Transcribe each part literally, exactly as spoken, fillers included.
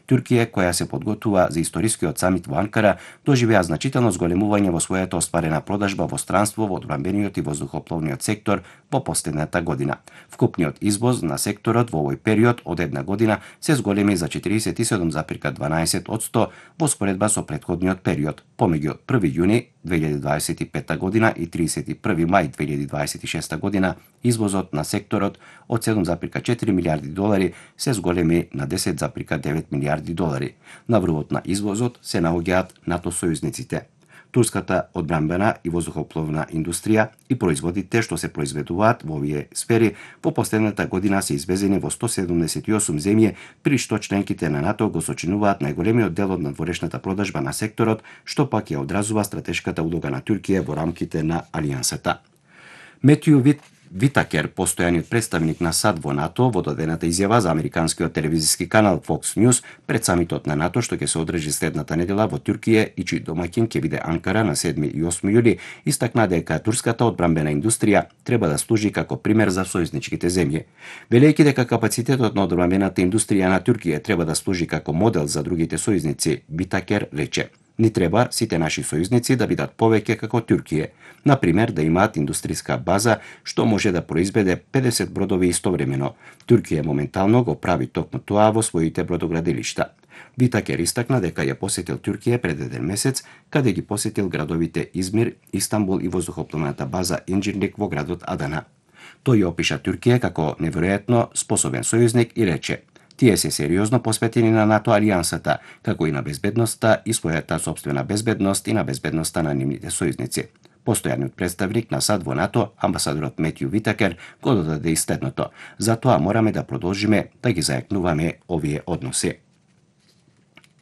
Туркија, која се подготвува за историскиот самит во Анкара, доживеа значително зголемување во својата остварена продажба во странство во одбранбениот и воздухопловниот сектор во последната година. Вкупниот извоз на секторот во овој период од една година се зголеми за четиридесет и седум запирка дванаесет одсто во споредба со претходниот период, помеѓу први јуни две илјади дваесет и петта година и тридесет и први мај две илјади дваесет и шеста година. Извозот на секторот од седум запирка четири милијарди долари се зголеми на десет запирка девет милијарди долари. На врвот на извозот се наоѓаат НАТО сојузниците, турската одбранбена и воздухопловна индустрија и производите што се произведуваат во овие сфери во последната година се извезени во сто седумдесет и осум земји, при што членките на НАТО го сочинуваат најголемиот дел од надворешната продажба на секторот, што пак ја одразува стратешката улога на Туркија во рамките на алијансата. Метју Вит Витакер, постојаниот представник на САД во НАТО, во дадената изјава за американскиот телевизиски канал Fox News пред самитот на НАТО што ќе се одржи следната недела во Туркија и чиј домаќин ќе биде Анкара на седми и осми јули, истакна дека турската одбранбена индустрија треба да служи како пример за сојузничките земји. Велејќи дека капацитетот на одбранбената индустрија на Туркија треба да служи како модел за другите сојузници, Витакер рече: Ни треба сите наши сојузници да бидат повеќе како Туркија, на пример да имаат индустријска база што може да произведе педесет бродови истовремено. Туркија моментално го прави токму тоа во своите бродоградилишта. Витакер истакна дека ја посетил Туркија пред еден месец, каде ги посетил градовите Измир, Истанбул и воздухопловната база Инџирник во градот Адана. Тој ја опиша Туркија како неверојатно способен сојузник и рече: Тие се сериозно посветени на НАТО алијансата, како и на безбедноста и својата сопствена безбедност и на безбедноста на нивните сојузници. Постојаниот представник на САД во НАТО, амбасадорот Метју Витакер, го додаде и следното: Затоа мораме да продолжиме да ги зајакнуваме овие односи.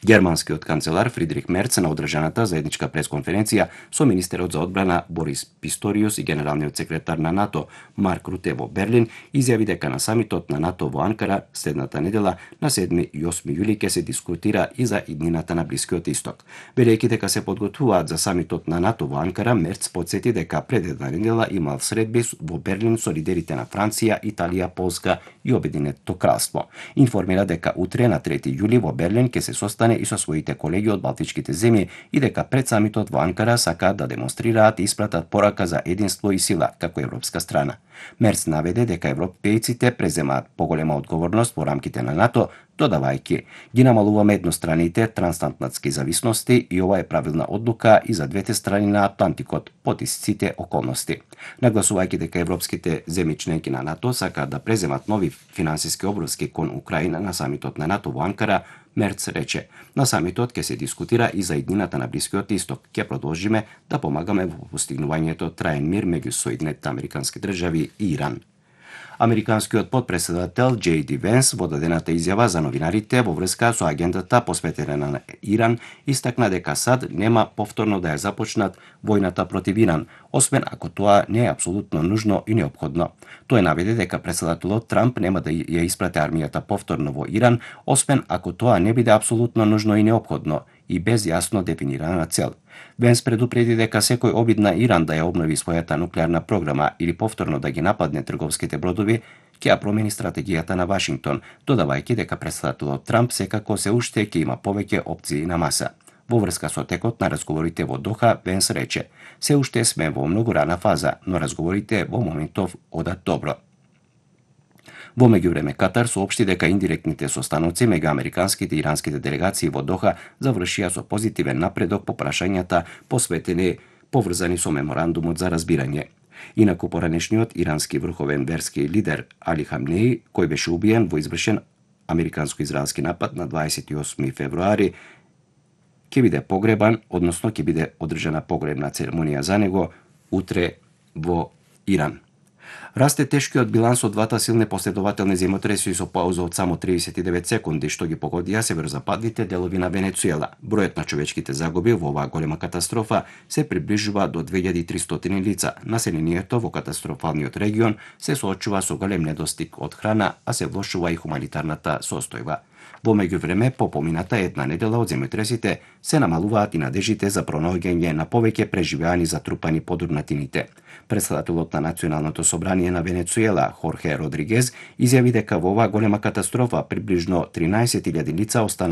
Германскиот канцелар Фридрих Мерц на одржаната заедничка пресконференција со министерот за одбрана Борис Писториус и генералниот секретар на НАТО Марк Руте во Берлин изјави дека на самитот на НАТО во Анкара следната недела на седми и осми јули ќе се дискутира и за иднината на Блискиот Исток. Велејќи дека се подготвуваат за самитот на НАТО во Анкара, Мерц потсети дека пред една недела имал средби во Берлин со лидерите на Франција, Италија, Полска и Обединетото кралство. Информира дека утре на трети јули во Берлин ќе се состане и со своите колеги од балтичките земји и дека пред самитот во Анкара сакаат да демонстрираат и испратат порака за единство и сила како европска страна. Мерц наведе дека европејците преземаат поголема одговорност во рамките на НАТО, додавајќи: Ги намалуваме едностраните трансатлантски зависности и ова е правилна одлука и за двете страни на Атлантикот под сите околности. Нагласувајќи дека европските земји членки на НАТО сакаат да преземат нови финансиски обврски кон Украина на самитот на НАТО во Анкара, Мерц рече: На самитот ќе се дискутира и за иднината на Блискиот Исток. Ќе продолжиме да помагаме во постигнувањето траен мир меѓу Соединетите американски држави и Иран. Американскиот потпредседател Џеј Ди Венс во дадената изјава за новинарите во врска со агендата посветена на Иран истакна дека САД нема повторно да ја започнат војната против Иран, освен ако тоа не е апсолутно нужно и неопходно. Тој наведе дека претседателот Трамп нема да ја испрати армијата повторно во Иран, освен ако тоа не биде апсолутно нужно и неопходно и без јасно дефинирана цел. Венс предупреди дека секој обид на Иран да ја обнови својата нуклеарна програма или повторно да ги нападне трговските бродови ќе ја промени стратегијата на Вашингтон, додавајќи дека претседателот Трамп секако се уште ќе има повеќе опции на маса. Во врска со текот на разговорите во Доха, Венс рече: Се уште сме во многу рана фаза, но разговорите во моментов одат добро. Во меѓувреме, Катар соопшти дека индиректните состаноци меѓу американските и иранските делегации во Доха завршија со позитивен напредок по прашањата посветени поврзани со меморандумот за разбирање. Инаку поранешниот ирански врховен верски лидер Али Хамнеи, кој беше убиен во извршен американско-израелски напад на дваесет и осми февруари, ќе биде погребан, односно ќе биде одржана погребна церемонија за него утре во Иран. Расте тешкиот биланс од двата силни последователни земјотреси со пауза од само триесет и девет секунди што ги погодија северозападните делови на Венецуела. Бројот на човечките загуби во оваа голема катастрофа се приближува до две илјади и тристоти лица. Населението во катастрофалниот регион се соочува со голем недостиг од храна, а се влошува и хуманитарната состојба. Во меѓувреме, по помината една недела од земјотресите се намалуваат и надежите за пронаоѓање на повеќе преживеани затрупани подурнатините. Претседателот на Националното собрание на Венецуела, Хорхе Родригез, изјави дека во оваа голема катастрофа приближно тринаесет илјади лица останале